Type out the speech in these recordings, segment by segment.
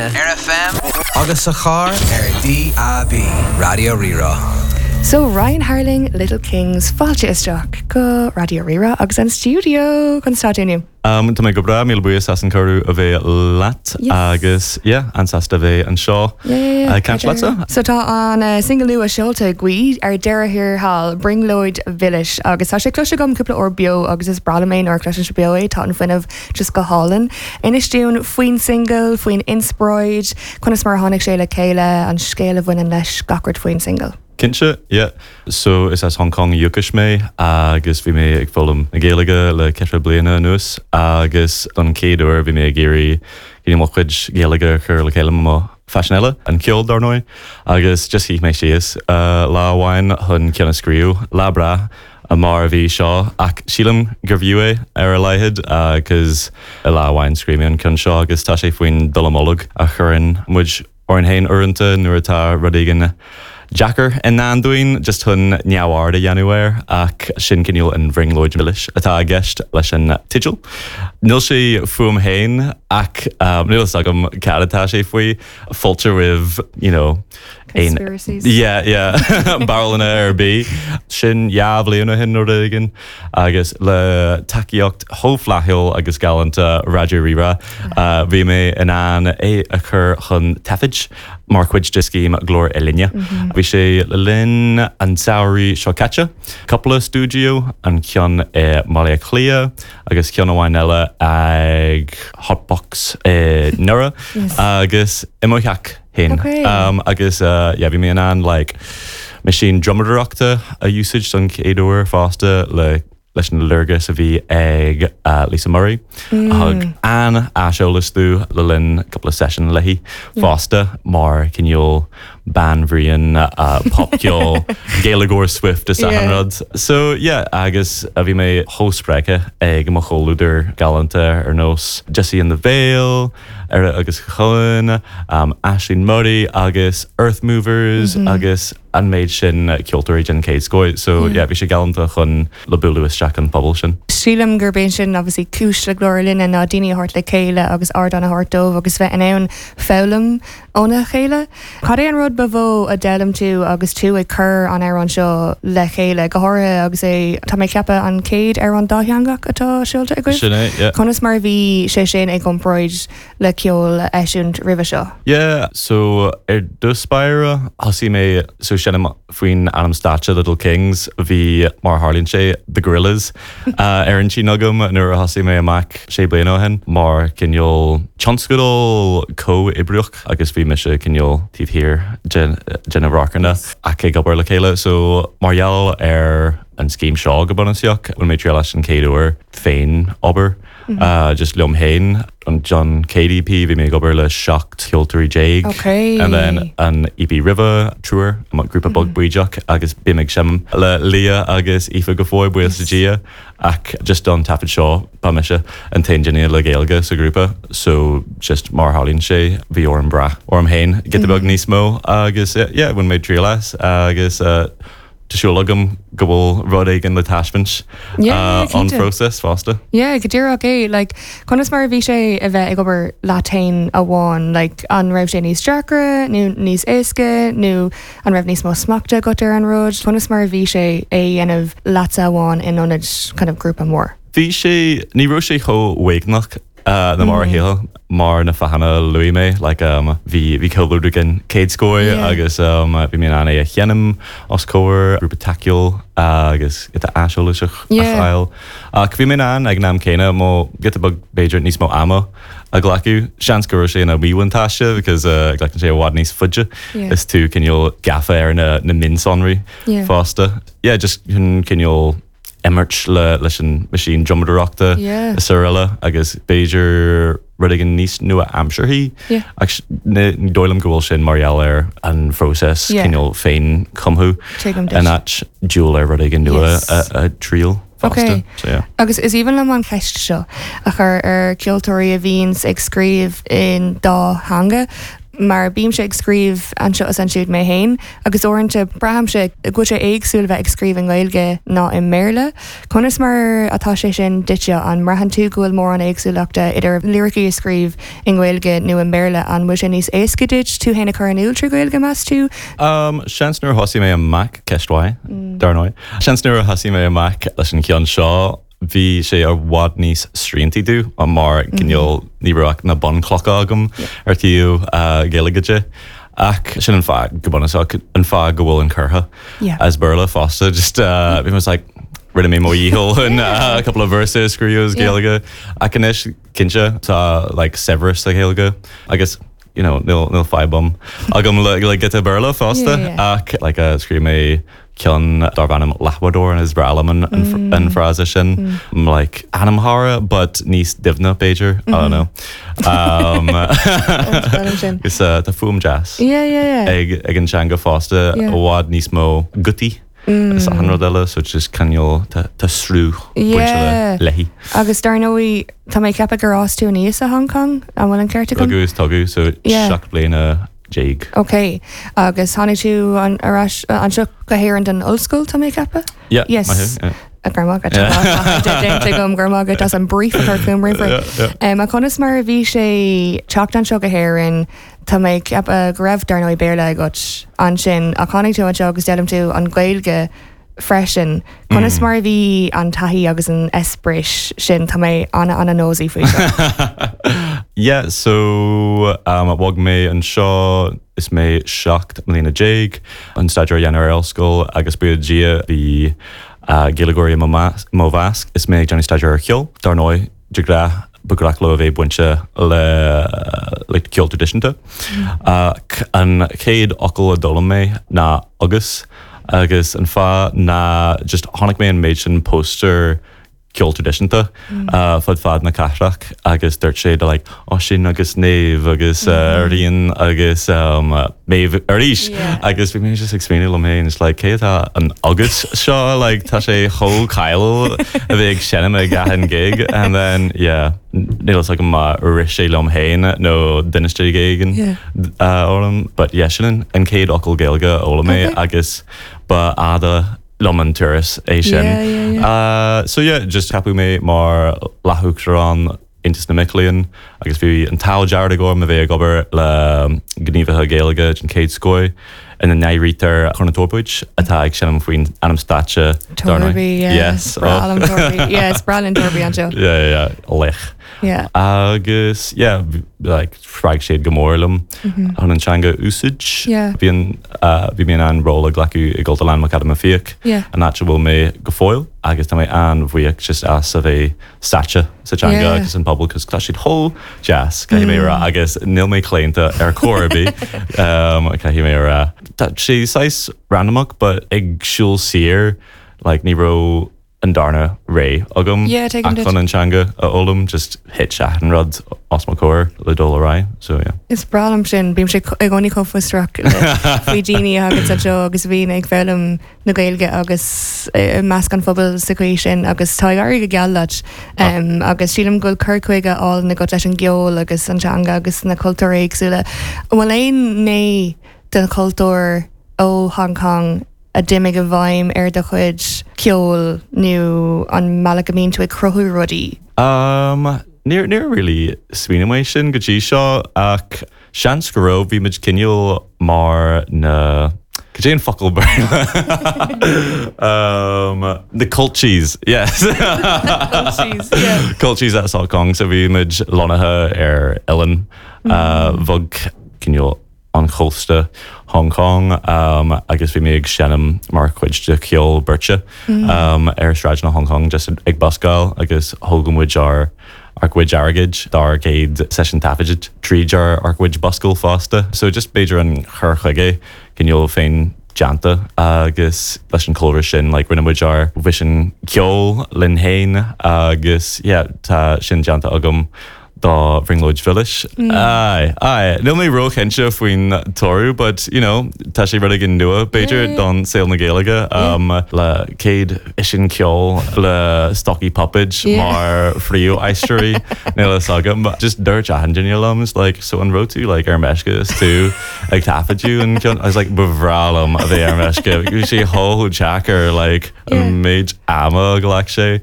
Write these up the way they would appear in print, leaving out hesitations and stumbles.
líne, ar FM agus sa charr ar DAB. Raidió Rí-Rá. So Ryan Harling, Little Kings, fáilte isteach go Raidió Rí-Rá agus an stiúideo. Conas tá tú inniu? Tá mé go breá, míle buíochas as an cuireadh a bheith leat agus yeah, an-sásta a bheith anseo ag caint leatsa. So tá an single nua seolta agaibh ar deireadh thiar thall, Brionglóid Mhilis, agus tá sé cloiste agam cúpla uair beo agus is breá liom é nuair a chloisimse beo é, tá an fuinneamh just go hálainn. Inis dúinn faoin single, faoin inspioráid, conas mar a tháinig sé le chéile, an scéal a bhaineann leis, gach rud faoin single. Cinnte, yeah. So, is as Hong Kong ó dhúchas mé agus bhí mé ag foghlaim na Gaeilge le ceithre bliana anuas agus don chéad uair bhí mé ag iarraidh you know, mo chuid Gaeilge a chur le chéile mo phaisean eile, an ceol dar ndóigh, agus just shuigh mé síos lá amháin chun ceann a scríobh. Lá breá mar a bhí seo ach sílim gurbh fhiú é ar a laghad cause i lá amháin scríobh mé an ceann seo agus tá sé faoin dallamullóg a chuireann muid orainn féin uaireanta nuair atá rud éigin deacair i ndán dúinn, just chun neamhaird a dhéanamh air, ach sin cineál an bhrionglóid mhilis atá i gceist leis an teideal. Níl sé fúm féin ach níl fhios agam cad atá sé faoi. Fáilte roimh, you know, aon. Conspiracies. Yeah, yeah, barúlacha ar bith. Sin dhá bhliain ó shin nó rud éigin. Agus le tacaíocht chomh flaithiúil agus galánta Raidió Rí-Rá, bhí mé in ann é a chur chun taifid mar chuid de scéim Glór Uillinne. Bhí sé le linn an tsamhraidh seo caite, cúpla stiúideo, an ceann i mBaile Átha Cliath agus ceann amháin eile ag Hotbox i nDoire agus i mo theach. féin. Agus yeah bhí mé in ann like meaisín drumadóireachta a úsáid don chéad uair fosta le leis an léargas a bhí ag Lisa Murray a thug an-aiseolas domh le linn cúpla seisiún léi fosta mar cineál banríon popcheol Gaeilgeoir Swift is achan rud. So yeah agus bhí mé chomh spreagtha ag mo chomhluadar galánta ar nós Jesse and the Veil, Éire agus Chulainn, Aisling Murray agus Earthmovers agus an méid sin ceoltóirí den chéad scoth. So yeah, bhí sé galánta chun le bualadh isteach an pobal sin. Sílim gurb é sin obviously cúis le Glór Uillinne ná daoine a thabhairt le chéile agus ardán a thabhairt dóibh agus bheith in ann foghlaim óna chéile. Cad é an rud ba mhó a d'fhoghlaim tú agus tú ag cur an amhráin seo le chéile, go háirithe agus é, tá mé ag ceapadh, an chéad amhrán dátheangach atá seolta agaibh? Sin é, yeah. Conas mar a bhí sé sin i gcomparáid le ceol a eisiúint roimhe seo? Yeah, so ar dtús báire, thosaigh mé, so seinnim faoin ainm stáitse Little Kings, bhí, mar a tharlaíonn sé, The Gorillas ar intinn agam nuair a thosaigh mé amach sé bliana ó shin, mar cineál tionscadal comhoibríoch agus bhí mise cineál taobh thiar de na radharcanna ach ag obair le chéile. So mar gheall ar an scéim seo go bunúsach, bhain mé triail as an chéad uair féin obair just liom féin. Don chéad EP bhí mé ag obair le 17 ceoltóirí. Okay. And then an EP roimhe, triúr, grúpa beag bídeach agus bím ag seinm le Leah agus Aoife go fóill, buíochas le Dia. Ach just don taifead seo ba mise an t-aon duine le Gaeilge sa ghrúpa so just mar a tharlaíonn sé bhí orm brath orm féin giota beag níos mó agus yeah bhain mé triail as agus Tá súil agam go bhfuil rud éigin le taispeáint ón phróiseas fosta. Yeah, go díreach é. Like, conas mar a bhí sé a bheith ag obair leat féin amháin? Like, an raibh sé níos deacra nó níos éasca nó an raibh níos mó smachta agat ar an rud? Conas mar a bhí sé é a dhéanamh leatsa amháin in ionad kind of grúpa mór? Bhí sé, ní raibh sé chomh uaigneach ná mar a shílfeá mar na fáthanna a luaigh mé like um bhí bhí comhluadar den chéad scoth agus um bhí mé in ann é a sheinm os comhair grúpa tacúil agus giota aiseolais a fháil ach bhí mé in ann ag an am céanna mo giota beag b'fhéidir níos mó ama a ghlacadh. Seans go raibh sé ina mhíbhuntáiste because uh glacann sé i bhfad níos faide is tú cineál gafa ar na na mionsonraí fosta. Yeah just cineál imirt le leis an meaisín drumadóireachta is araile agus b'fhéidir rud éigin níos nua-aimsearthaí ach ní dóigh liom go bhfuil sin mar gheall ar an phróiseas cineál féin-chumtha in áit dul ar rud éigin nua a thriail fosta. So yeah. Agus is aoibhinn liom an cheist seo a chur ar ceoltóirí a bhíonns ag scríobh in dá theanga. Mar bímse ag scríobh anseo is ansiúd mé féin agus uaireanta braithimse go bhfuil sé éagsúil bheith ag scríobh i nGaeilge ná i mBéarla. Conas mar atá sé sin duitse? An mbraitheann tú go bhfuil mórán éagsúlachta idir liricí a scríobh i nGaeilge nó i mBéarla? An bhfuil sé níos éasca duit tú féin a chur in iúl trí Ghaeilge, meas tú? Seans nuair a thosaigh mé amach, ceist mhaith, dar ndóigh. Seans nuair a thosaigh mé amach leis an cheann seo, bhí sé i bhfad níos sriantaí domh mar cineál ní raibh ach na bunchlocha agam ar taobh Gaeilge de. Ach sin an fáth go bunúsach an fáth go bhfuil an curtha as Béarla fosta just bhí mé like rinne mé mo dhícheall chun a couple of verses a scríobh as Gaeilge ach anois cinnte tá like saibhreas sa Ghaeilge agus you know níl níl fadhb agam le le giota Béarla fosta ach like scríobh mé ceann darb ainm Leathbhádóir is breá liom an an frása sin like anamchara but níos doimhne b'fhéidir I don't know. Um, is tá fuaim deas ag ag an teanga fosta i bhfad níos mó gutaí is achan rud eile so just cineál tá sruth bainte léi. Agus dar ndóigh tá mé ag ceapadh gur fhás tú aníos i Hong Kong, an bhfuil an ceart agam? Rugadh is tógadh so 17 bliana. Ok. Agus tháinig tú ar ais anseo go hÉirinn don ollscoil, tá mé ag ceapadh? Yeah, Yes. maith thú, yeah. Go raibh maith agat. Tá déanta agam, go raibh maith agat as an brief a chur chugam roimh ré. Yeah, yeah. Um, conas mar a bhí sé teacht anseo go hÉirinn, tá mé ag ceapadh go raibh dar ndóigh Béarla agat ansin, ach tháinig tú anseo agus d'fhoghlaim tú an Ghaeilge freisin. Conas mar a bhí an taithí agus an eispéireas sin? Tá mé ana ana nosy faoi seo. Yeah, so um, bhog mé anseo is mé 17 mbliana chun staidéar a dhéanamh ar ollscoil agus buíochas le Dia bhí uh, Gaeilgeoirí i mo measc is mé ag déanamh staidéar ar cheol. Dar ndóigh, de ghnáth ba ghnách leo a bheith bainte le like ceol traidisiúnta. Ach an chéad fhocal a d'fhoghlaim mé ná agus agus an fáth ná just chonaic mé an méid sin póstaer ceol traidisiúnta fud fad na cathrach agus dúirt sé de like Oisín agus Méabh agus Rían agus Méabh arís agus bhí mé just ag smaoineamh liom féin, it's like cé atá an agus seo like tá sé chomh cáiliúil a bheith ag seinm ag achan gig and then yeah níl fhios agam má rith sé liom féin nó d'inis duine éigin orm but yeah sin an chéad fhocal Gaeilge a fhoghlaim mé agus ba fhada liom an turas é sin. So yeah just ceapadh mé mar leas-uachtarán Aontas na Mac Léinn agus bhí an t-ádh dearg orm a bheith ag obair le gníomhaithe Gaeilge den chéad scoth ina n-áirítear Cór na Torpóid atá ag seinm faoin ainm stáitse dar ndóigh. Torby, yeah. Yes. Breá liom Torby. Yeah, is breá linn Torby anseo. Yeah, yeah, yeah. Laoch. Yeah. Agus yeah, like spreag siad go mór liom chun an teanga a úsáid. Yeah. Bhí an bhí mé in ann ról a ghlacadh i gCultúrlann McAdam Ó Fiaich, Yeah. an áit a bhfuil mé go fóill agus tá mé an-bhuíoch just as a bheith sáite sa teanga Yeah. agus an pobal cos tá siad chomh deas, caithfidh mé a rá, agus níl mé claonta ar chor ar bith, um, caithfidh mé a rá. Tá sé saghas randamach but ag siúl siar like ní raibh an darna rogha agam Yeah, tuigim ach duit. chun an teanga a fhoghlaim, just thit achan rud os mo chomhair le dul ar aghaidh, so yeah. Is breá liom sin, bímse i gcónaí chomh fiosrach le faoi daoine a thagann anseo agus a bhíonn ag foghlaim na Gaeilge agus i measc an phobail sa chaoi sin agus tá ag éirí go geal leat agus sílim go bhfuil cur chuige álainn agat leis an gceol agus an teanga agus na cultúir éagsúla. An bhfuil aon ghné den chultúr ó Hong Kong a d'imigh i bhfeidhm ar do chuid ceoil nó an mbealach a mbíonn tú ag cruthú rudaí? Um, níor, níor really smaoinigh mé sin go dtí seo ach Seans go raibh, bhí muid cineál mar na, cad é an focal Béarla? um, the culchies, yes. Culchies, yeah. Culchies as Hong Kong, so bhí muid lonnaithe ar oileán uh, bheag cineál an chósta Hong Kong um, agus bhí mé ag seinm mar chuid de cheol beirte um, ar sráideanna Hong Kong just ag buscáil agus thóg muid ár ár gcuid airgid dár gcéad seisiún taifeadta tríd ár ár gcuid buscáil fosta. So just b'fhéidir an chur chuige cineál féin déanta agus leis an chúlra sin like rinne muid ár bhfaisean ceoil linn féin agus yeah tá sin déanta agam. Do Bhrionglóid Mhilis. Aye, aye. Níl mé róchinnte faoin toradh but, you know, tá sé rud éigin nua, b'fhéidir, don saol na Gaeilge le céad fhíseán ceoil le stocaí puipéid mar phríomh-aisteoirí, níl a fhios agam. Just dúirt achan duine liom, is like, so an raibh tú like ar meisce is tú ag taifeadadh an ceann? I was like, ba bhreá liom a bheith ar meisce. Bhí sé chomh deacair like an méid ama a ghlac sé.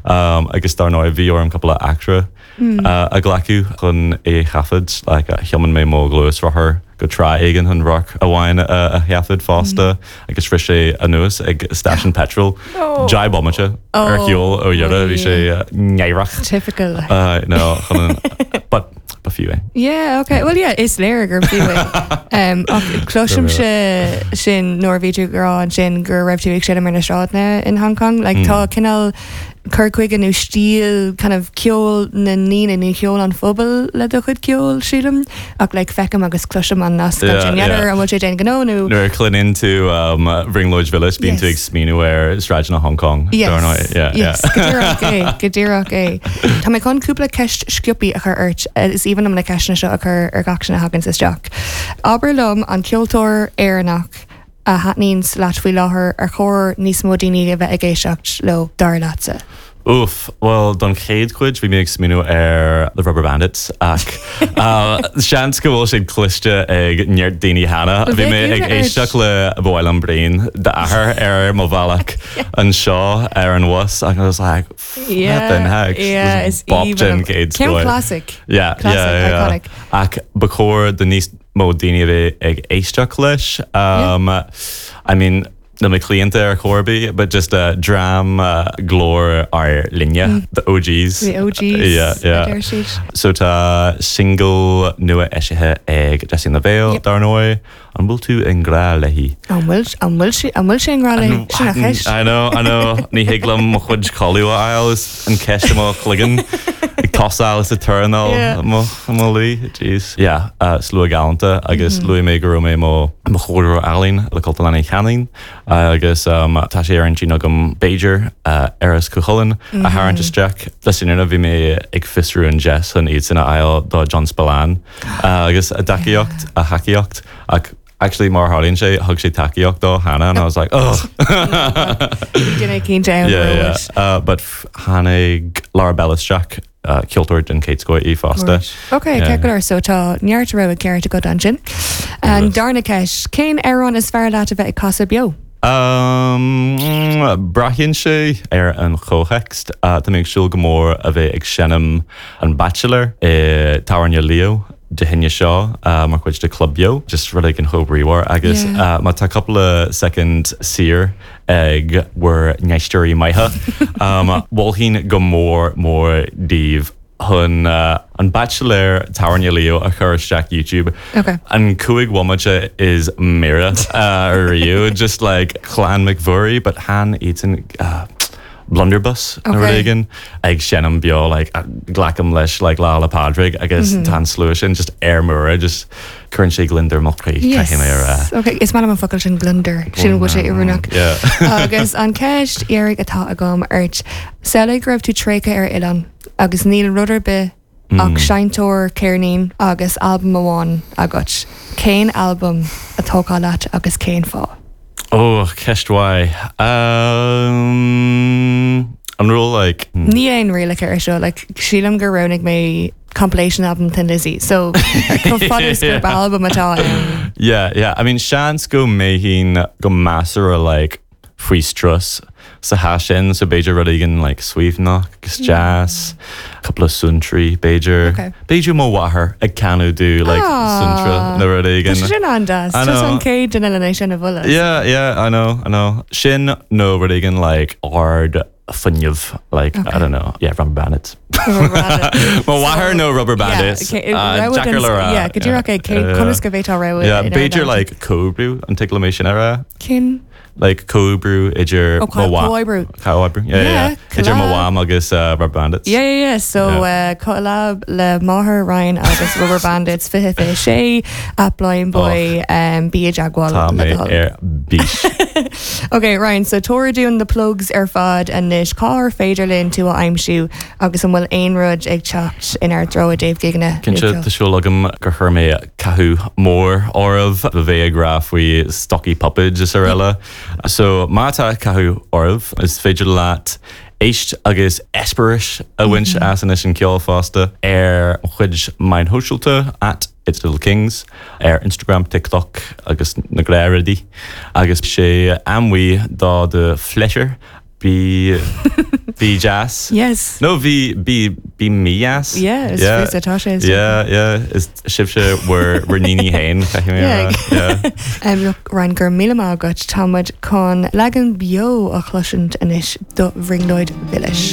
Agus dar ndóigh bhí orm cúpla eachtra a ghlacadh chun é a thaifead, like thiomáin mé mo ghluaisrothar go trá éigin chun radharc amháin a thaifead fosta agus rith sé anuas ag stáisiún peitril 10 bomaite ar shiúl ó dheireadh, bhí sé náireach. Typical. No, chun an, but ba fiú é. Yeah, okay. Well, yeah, is léir gur fiú é. Um, ach cloisimse sin nuair a bhí tú ag rá ansin go raibh tú ag seinm ar na sráideanna in Hong Kong. Like, tá cineál cur chuige nó stíl kind of ceol na ndaoine nó ceol an phobail le do chuid ceoil, sílim. Ach like feicim agus cloisim an nasc ansin. N'fheadar an bhfuil sé d'aon ghnó nó. Nuair a chluineann tú um, Brionglóid Mhilis, bíonn tú ag smaoineamh ar sráideanna Hong Kong. Yes, yeah, yes, go díreach é, go díreach é. Tá mé chun cúpla ceist sciobtha a chur ort, is aoibhinn liom na ceisteanna seo a chur ar gach duine a thaganns isteach. Abair liom an ceoltóir Éireannach a thaitníonns leat faoi láthair ar chóir níos mó daoine a bheith ag éisteacht leo, dar leatsa? Oof, bhuel don chéad chuid bhí mé ag smaoineamh ar The Rubberbandits ach seans go bhfuil siad cloiste ag neart daoine cheana. Bhí mé ag éisteacht le Ba Mhaith Liom Braon d'Athar ar mo bhealach anseo ar an bhus agus I was like flippin' heck, this is bop den chéad scoth. Classic. Yeah, yeah, yeah. Ach ba chóir do níos mó daoine a bheith ag éisteacht leis. I mean, níl mé claonta ar chor ar bith, but just dream glór ár linne, the OGs. The OGs, yeah, yeah. a deir siad. So tá singil nua eisithe ag Jessie Lavelle, dar ndóigh. An bhfuil tú i ngrá léi? An bhfuil, an bhfuil sí, an bhfuil sé i ngrá léi? Sin an cheist. I know, I know. Ní thig liom mo chuid codladh a fháil is an ceist i mo chloigeann ag tosáil is ag turnáil mo mo luí. Jeez. Yeah, slua galánta agus luaigh mé go raibh mé mo mo chomhairleoir ealaíon le Cultúrlann Uí Chanáin agus tá sé ar intinn agam b'fhéidir Aras Chú Chulainn a tharraingt isteach. Le fírinne bhí mé ag fiosrú an deis chun iadsan a fháil do John Spillane. agus a dtacaíocht, a thacaíocht ach actually mar a tharlaíonn sé thug sé tacaíocht dó cheana and I was like oh! Duine cinnte ann Yeah, yeah. But tháinig Laura Bell isteach, ceoltóir den chéad scoth í fosta. Ok, ceart go leor, so tá neart rogha ceart agat ansin. An darna ceist, cén amhrán is fearr leat a bheith ag casadh beo? Braitheann sé ar an chomhthéacs. Tá mé ag súil go mór a bheith ag seinm An Baitsiléir i Tábhairne Leo Dé hAoine seo mar chuid de Club Beo. Just rud éigin chomh bríomhar agus má tá cúpla soicind saor ag bhur n-éisteoirí maithe, mholfainn go mór mór daoibh chun An Baitsiléir Tábhairne Leo a chur isteach YouTube. Ok. An 5 bhomaite is meara riamh, just like Clann McVurry, but chan iadsan Blunderbuss nó rud éigin ag seinm beo like glacaim leis like Lá 'le Pádraig agus tá an slua sin just ar mire just cuireann sé gliondar mo chroí caithfidh mé a rá. Ok, is maith liom an focal sin gliondar, sin go bhfuil sé oiriúnach. Agus an ceist dheiridh atá agam ort, samhlaigh go raibh tú tréigthe ar oileán agus níl rud ar bith ach seinnteoir ceirnín agus albam amháin agat. Cén albam a thógfá leat agus cén fáth? Ó, ceist mhaith. An raibh like. Ní aon rialacha ar seo, like sílim gur roghnaigh mé compilation album Thin Lizzy, so chomh fada is gurb albam atá ann. Yeah, yeah, I mean seans go mbeinn go measartha like faoi strus sa chás sin, so b'fhéidir rud éigin like suaimhneach agus deas, cúpla suantraí b'fhéidir. Okay. B'fhéidir mo mháthair ag canadh domh like suantra nó rud éigin. Tá sé sin an-deas. I Tá know. an chéad duine lena sin a mholadh. Yeah, yeah, I know, I know. Sin nó rud éigin like ard fuinneamh like I don't know yeah Rubberbandits. Mo mháthair nó Rubberbandits. Deacair le rá. Yeah, go díreach é cé conas go bhféadfá rogha Yeah, b'fhéidir like comhoibriú an dtig liom é sin a rá. Cén? Like comhoibriú idir Oh, mo mham. comhoibriú. Comhoibriú, yeah, yeah, Yeah, yeah. Idir mo collab. mham agus uh, Rubber Bandits. Yeah, yeah, yeah. So yeah. Uh, collab le máthair Ryan agus Rubber Bandits 2026 at Blindboy oh. um, bí i dteagmháil Tá le mé do thoil. ar bís. Ok, Ryan, so tabhair dúinn na plugs ar fad anois cár féidir linn tú a aimsiú agus an bhfuil aon rud ag teacht inár dtreo i dtaobh gigeanna Cinnte, tá súil agam gur chuir mé cathú mór oraibh a bheith ag rá faoi stocaí puipéid is araile. So má tá cathú oraibh, is féidir leat éist agus eispéireas a bhaint as anois an ceol fosta ar mo chuid meáin shóisialta at It's Little Kings ar Instagram, TikTok agus na gnáthrudaí. Agus sé amuigh do do phléisiúr Bí bí deas. Yes. No bí bí bí mídheas. Yeah, is yeah. atá sé. Yeah, yeah, is sibhse bhur bhur ndaoine féin caithfidh mé a rá. Yeah. Um, look, Ryan, go raibh míle maith agat. Tá muid chun leagan beo a chloisint anois do Bhrionglóid Mhilis.